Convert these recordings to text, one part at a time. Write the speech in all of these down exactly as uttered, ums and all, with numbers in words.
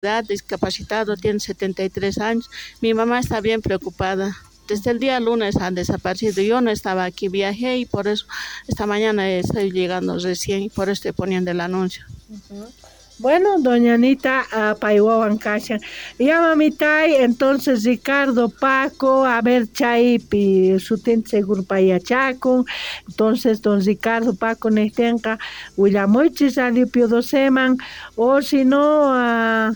Discapacitado, tiene setenta y tres años. Mi mamá está bien preocupada. Desde el día lunes han desaparecido. Yo no estaba aquí, viajé y por eso esta mañana estoy llegando recién y por eso estoy poniendo el anuncio. Uh-huh. Bueno, doña Anita, uh, paywawan kashan. Ya mamitay, entonces Ricardo, Paco, a ver, chaypi sutinta seguro payachakun. Entonces, don Ricardo, Paco nejtinqa willamuychis Radio Pio Doceman, o si no, uh,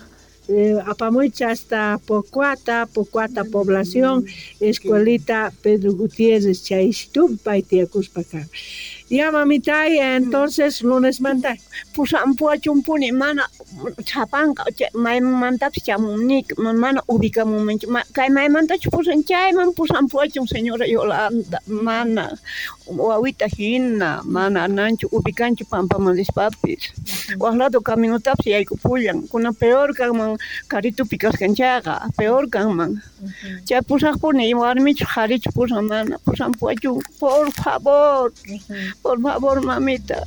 eh, apamuychis hasta Pocoata, Pocoata población, escuelita Pedro Gutiérrez, chaysitupi pay tiyakuspa kan. Ya mamitay, entonces lunes manta. Pusampuachumpuni mana sapanka maymantapis chamunnik mana ubikamunmanchu kay maymantachu pusan chayman pusampuachun señora Yolanda mana wawita hina mana ananchu ubikanchu pampaman rispapis waq lado caminotapis yaykupullan kuna peor kanman karitupi kaskan chayqa peor kanman chay pusaqpuni warmichu qharichu pusan mana pusampuachun por favor. Por favor, mamita.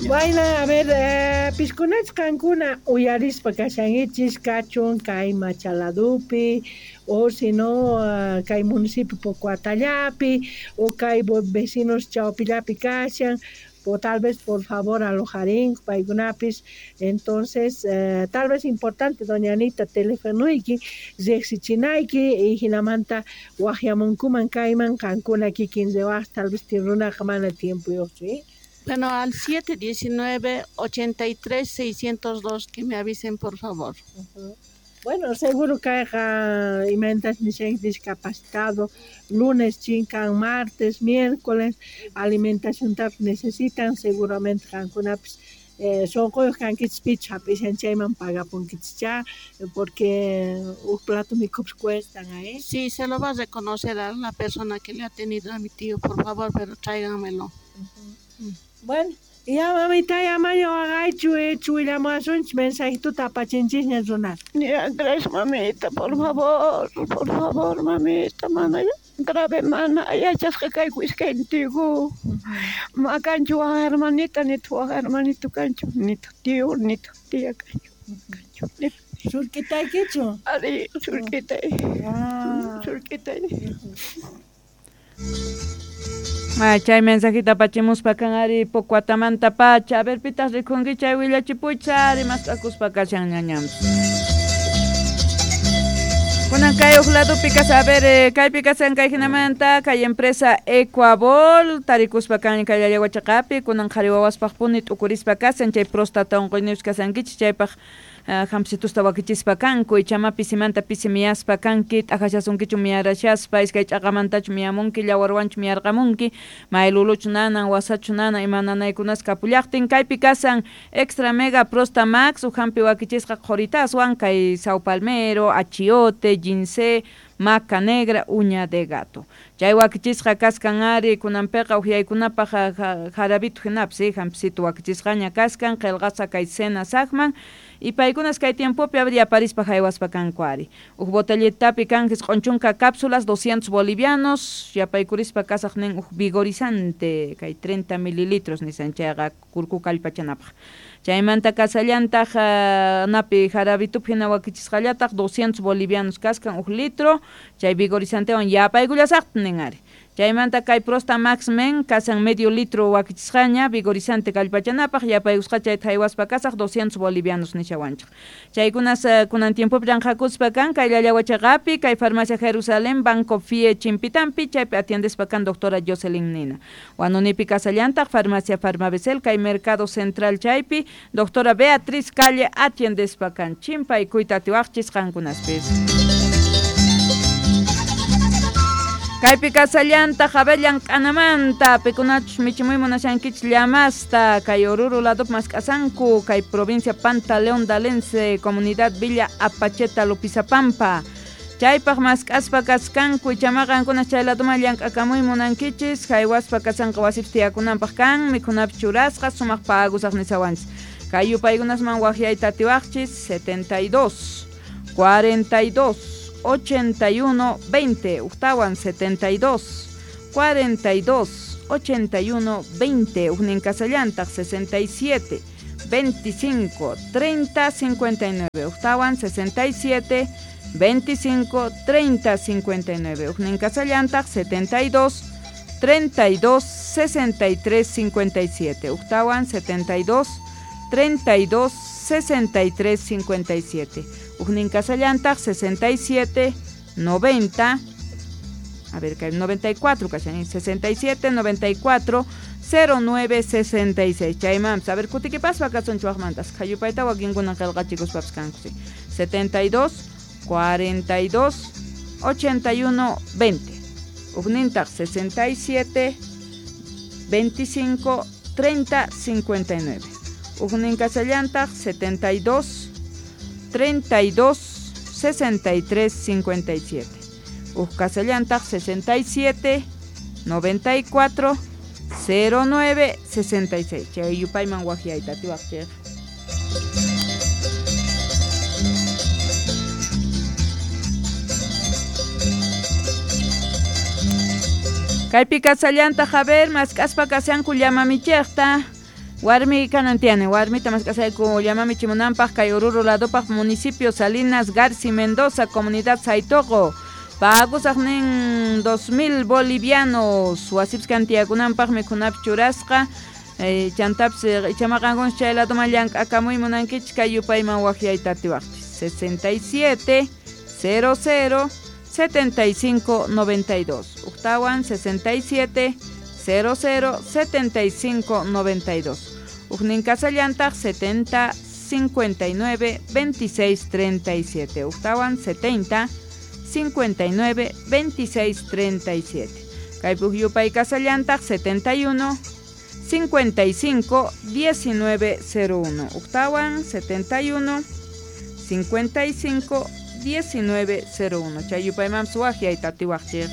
Bueno, a ver, eh, piskunach qankuna uyarispa kashankichis kachun kay Machaladupi, o si no, uh, kay municipio Pocoatallapi, o kay vecinos Chaupillapi kashan, o tal vez por favor alojarín paykunapis. Entonces, eh, tal vez importante, doña Anita, telefonuyki, riqsichinayki, y hinamanta waqyamunkuman kayman qankuna kikin riwaq, tal vez runaqa mana tiempuyuqchu, ¿eh? Bueno, al siete diecinueve, ochenta y tres, seiscientos dos, que me avisen, por favor. Uh-huh. Bueno, seguro kayqa imaynatas nishanki discapacitado, lunes chinkan, martes, miércoles, alimentaciontapis necesitan, seguramente qankunapis eh, sunquyuq kankichis pichus hap'ishan chayman pagapunkichis porque huk plato mikhupis cuestan, ¿eh? Sí, se lo va a reconocer a la persona que le ha tenido a mi tío, por favor, pero tráiganmelo. Uh-huh. Bueno, ya mamita, ya maña waqaychu, hecho willamuwasunchis mensajituta apachinchisña runata. Ya, gracias mamita, por favor, por favor mamita, mana grave mana yachasqa kayku iskayniyku. Ma kanchu waq hermanita, nitaq waq hermanito kanchu, nitaq tío, nitaq tía kanchu, kanchu. Surk'itaykichu? Ari, surk'itay. Surk'itay. Ah, chay mensajita apachimuspa kan ari Pocoatamanta pacha. A ver, pitas rikhunki chay willachipuycha ari mask'akuspa kashan ñañanpis. Kunan kay huk ladopi kas, a ver, eh, kaypi kasan kay hinamanta kay empresa Ecuabol tarikuspa kan kay Llallawachaqapi kunan qhari wawaspaq puni t'ukurispa kasan chay próstata unquyniyuq kasankichis chaypaq uh, hampsitusta wakichispa kanku ichama pisimanta pisi miyaspa kanki t'aqashasunkichu miyarashaspa iskay ch'aqamantachu miyamunki llawarwanchu miyarqamunki mayluluchu nanan wasachu nanan ima nanaykunas kapullaqtin kaypi kasan Extra Mega Prosta Max huk hampi wakichisqa qhuritaswan kay Sao Palmero, achiote, ginseng, maca negra, uña de gato. Chay wakichisqa kaskan ari kunanpiqa uhyaykunapaq jarabitu hinapis, eh, hampisitu wakichisqaña kaskan qillqasqa kay cena saqman y paykunas kay tiempopi habría parispa haywaspa kanku ari. Huk botellitapi kanjis q'unchunka cápsulas doscientos bolivianos, yapaykurispa kasaq nin huk vigorizante kay treinta mililitros nisan chayqa kurku kallpachanapaq. Chaymanta kasallantaq uh, napi jarabitupi hina wakichisqallataq doscientos bolivianos kaskan huk litro, chay vigorizantewan yapaykullasaqta nin ari. Chaymanta kay Prosta Max Men kasan medio litro wakichisqaña vigorizante kallpachanapaq yapaykusqa chayta haywaspa kasaq doscientos bolivianos nishawanchik. Chaykunas uh, kunan tiempopi ranqhakuspa kan kay Llallawachaqapi kay Farmacia Jerusalén Banco F I E Chimpitampi chaypi atiendespa kan doctora Jocelyn Nina. Wanunipi kasallantaq Farmacia Farmabesel kay Mercado Central chaypi doctora Beatriz Calle atiendespa kan chimpaykuyta atiwaqchis qankunaspis. Kaypi kasallantaq abellan k'anamanta pikunachus michimuy munashankichis llamasta kay Oruro ladopi mask'asanku kay provincia Pantaleón Dalense comunidad Villa Apacheta Lupizapampa chaypaq mask'aspa kaskanku ichamaqa qankuna chay ladoman llank'akamuy munankichis haywaspa kasanqa wasipis tiyakunanpaq kan mikhunapis churasqa sumaq pagusaq nisawanchis kay yupaykunasman waqyayta atiwaqchis setenta y dos, cuarenta y dos, ochenta y uno, veinte, uktawan setenta y dos, cuarenta y dos, ochenta y uno, veinte, ujnin kasallantaq sesenta y siete, veinticinco treinta cincuenta y nueve. Ujtawan sesenta y siete veinticinco treinta cincuenta y nueve. Ujnin kasallantaq setenta y dos treinta y dos sesenta y tres cincuenta y siete. Ujtawan setenta y dos treinta y dos sesenta y tres cincuenta y siete. Ujnin kasallantaq sesenta y siete noventa, a ver, noventa y cuatro, sesenta y siete noventa y cuatro cero nueve sesenta y seis. Chaymanpas, a ver, kutikipaspa kasun chuwaqmantas qhayupayta wakinkuna qillqachikuspapas kanku, sí. setenta y dos cuarenta y dos ochenta y uno veinte. Ujnintaq sesenta y siete veinticinco treinta cincuenta y nueve. Ujnin kasallantaq setenta y dos treinta y dos sesenta y tres cincuenta y siete. Uj kasallantaq sesenta y siete noventa y cuatro cero nueve sesenta y seis. Chay yupayman waqyayta atiwaqchik. Kaypi kasallantaq, a ver, mask'aspa kashanku llamamichikta. Warmi kanan tiene, warmita mask'asayku llamamichimunanpaq kay Oruro ladopaq municipio Salinas Garci Mendoza, comunidad Saitoqo. Pagusaq nin dos mil bolivianos, wasipis kantiyakunanpaq mikhunapi churasqa. Eh, chantapis ichamaqankunas chay ladoman llank'akamuy munankichik kay yupayman waqyayta atiwaqchik. sesenta y siete cero cero setenta y cinco noventa y dos. Ujtawan sesenta y siete cero cero setenta y cinco noventa y dos. Ujnin kasallantaq setenta cincuenta y nueve veintiséis treinta y siete. Ujtawan setenta cincuenta y nueve veintiséis treinta y siete. Kaypi uj yupay kasallantaq setenta y uno cincuenta y cinco diecinueve cero uno. Ujtawan setenta y uno cincuenta y cinco diecinueve cero uno. Chay yupaymanpas waqyayta atiwaqchik.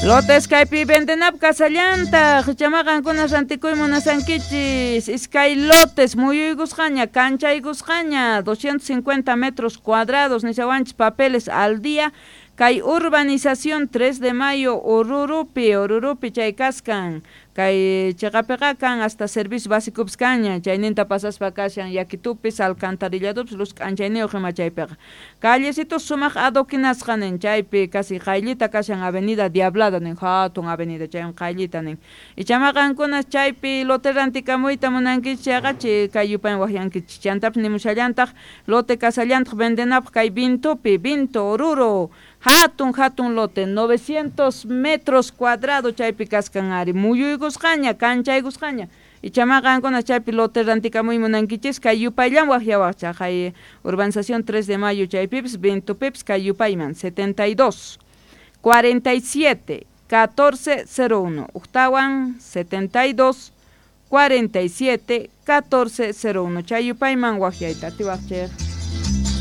Lotes kaypi vendenap kasallantaq, chamaqankuna rantikuy munasankichis, iskay lotes muyuykusqaña, kanchaykusqaña, doscientos cincuenta metros cuadrados, nishawanchis papeles al día, kay urbanización tres de mayo, Orurupi, Orurupi chay kaskan, kay chiqapiqa kan hasta servicio básicopis kaña, chayninta pasaspa kashan yakitupis, alcantarilladupis, luz k'anchayniyuq ima chaypiqa. Callecitos sumaq adoquinasqa nin, chaypi casi qayllita kashan avenida Diablada nin, hatun avenida chaywan qayllita nin. Ichamaqankuna chaypi lote rantikamuyta munankichik chayqa chay kay yupaywan waqyankichik. Chantapis nimushallantaq lote kasallantaq vendenapaq kay Vintupi, Vinto, Oruro, hatun hatun lote, novecientos metros cuadrados chaypi kaskan ari, muyuykusqaña, kanchaykusqaña. Ichamaqankuna chaypi lote rantikamuy munankichis kay yupayllan waqyawaqchaq, kay urbanización tres de mayo chaypipis, Vintupipis kay yupayman, setenta y dos cuarenta y siete catorce cero uno. Ujtawan setenta y dos cuarenta y siete catorce cero uno. Chay yupayman waqyayta atiwaqchik.